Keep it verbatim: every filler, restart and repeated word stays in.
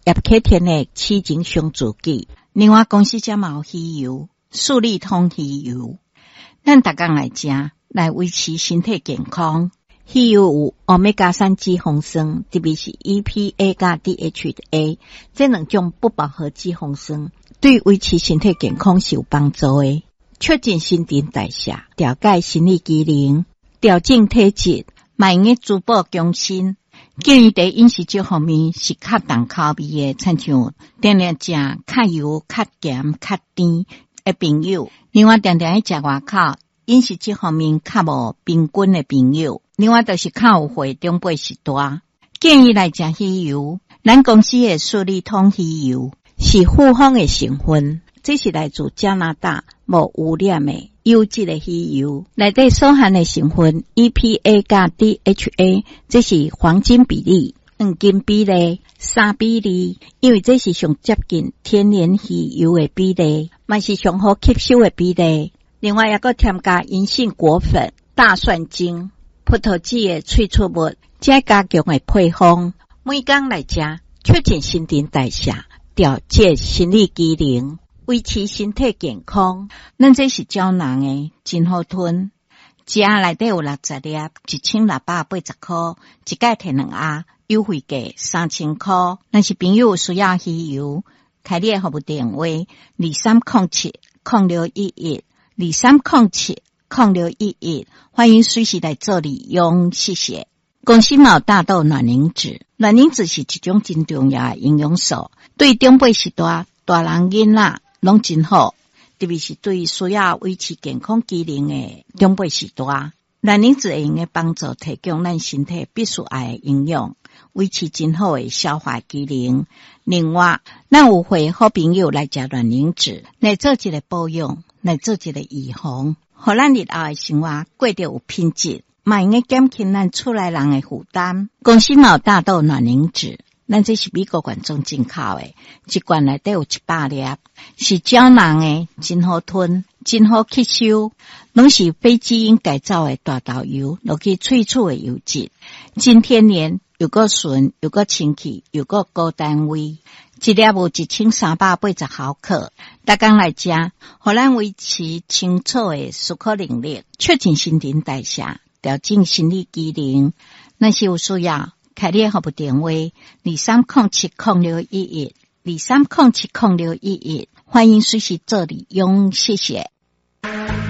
葉啟天的痴情傷自己。另外，公司遮嘛有魚油，素力通魚油，咱逐工來食，來維持身體健康。魚油有歐米伽三脂肪酸，特別是 E P A 佮 D H A 這兩種不飽和脂肪酸，對維持身體健康是有幫助的。促進新陳代謝，調節生理機能，調整體質，嘛會用滋補強身。建議佇飲食這方面是較重口味的，親像定定食較油、較鹹、較甜的朋友。另外，定定愛食外口，飲食這方面較無平均的朋友。另外，就是較有歲長輩序大，建議來食魚油。咱公司的素力通魚油是複方的成分，這是來自加拿大無污染的優質的魚油，內底所含的成分 E P A 佮 D H A，這是黃金比例，黃金比例三比二，因為這是上接近天然魚油的比例，嘛是上好吸收的比例。另外，猶閣添加銀杏果粉、大蒜精、葡萄籽的萃取物，這加強的配方，每工來食，促進新陳代謝，調節生理機能，維持身體健康。咱這是膠囊的，真好吞。一盒內底有六十粒，一千六百八十箍，一擺提兩盒，優惠價三千箍。若是朋友有需要魚油，開你的服務電話：二三空七空六一一，二三空七空六一一，歡迎隨時來做利用，謝謝。公司嘛有大豆卵磷脂，卵磷脂是一種真重要的營養素，對長輩序大、大人囡仔攏真好，特別是對需要維持健康機能的長輩序大，卵磷脂會用得幫助提供咱身體必須愛的營養，維持真好的消化機能。另外，咱有會好朋友來食卵磷脂，來做一個保養，來做一個預防，予咱日後的生活過得有品質，嘛會用減輕咱厝內人的負擔。公司嘛有大豆卵磷脂，咱這是美國原裝進口的，一罐內底有一百粒，是膠囊的，真好吞，真好吸收，攏是非基因改造的大豆油，落去萃取的油脂，真天然，又閣純，又閣清氣，又閣高單位，一粒有一千三百八十毫克，逐工來食，予咱維持清楚的思考能力，促進新陳代謝，調整生理機能。若是有需要，開你的服務電話：二三空七空六一一，二三空七空六一一，歡迎隨時做利用，謝謝。